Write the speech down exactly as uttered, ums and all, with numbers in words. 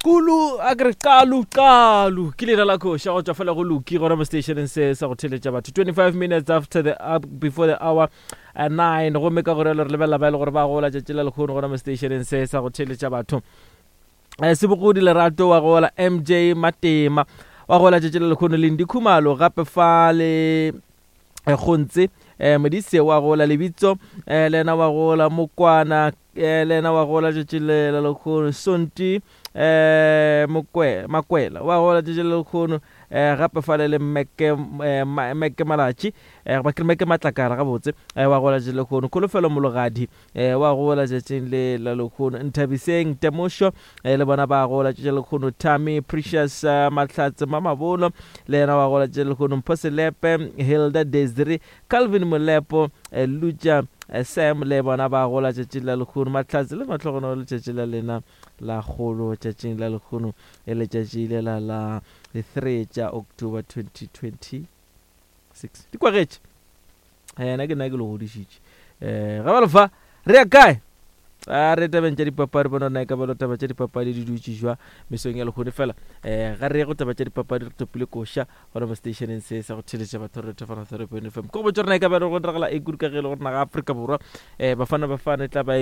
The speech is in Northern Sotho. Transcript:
Khulu a ke re qalu qalu ke leina la koša go tšwa fela go Luki gona mo stationeng se sa go theletša batho. twenty-five minutes after the up before the hour uh, nine, gomme ka gore re lebelela ba e le gore ba gola tšatši la lekgono gona mo stationeng se sa go theletša batho. um Sebogodi Lerato wa gola, M J Matema wa gola tšatši la lekgono, Lendi Khumalo gape fa le eh, Gontse um Modise wa gola, Lebitso um le yena wa gola, Mokwana um le yena wa gola tšatši le la lekgono, Sonti um Mokwe Makwela wa gola tšatši le lekgono, um gape fale le Meke um Meke Malatši um ba ke Meke Matlakala gabotse um wa gola tšatši le lekgono, Kholofelo Mologadi um wa gola tšatšing le la lekgono, Nthabiseng Temošo um le bona ba gola tšatši le lekgono, Tami Precious uh, Mahlatse Mamabolo le yena wa gola tšatši le lekgono, Mpho Selepe, Hilda Desiree, Calvin Molepo, uh, Luja uh, Sam le bona ba gola tšatši la lekgono. Mahlatse le mahlogonolo letšatši la lena la kgolo tšatšing la lekgono, e letšatši le la la three tša October twenty twenty-six di kwagetše. Ena ke nna ke le godišitše. um ga ba lefa re ya kae? A re tabeng tša dipapadi, bona na e ka balo taba tša dipapadi di dutše jwa mesong ya lekgone fela. um ga re ye go taba tša dipapadi, re topile koša gona mo stationeng se sa go theletša batho re thefana three point F M. Ko go botša rena e ka balo go diragala e kudu ka ge e le gore naga Afrika Borwa um Bafana Bafana e tla ba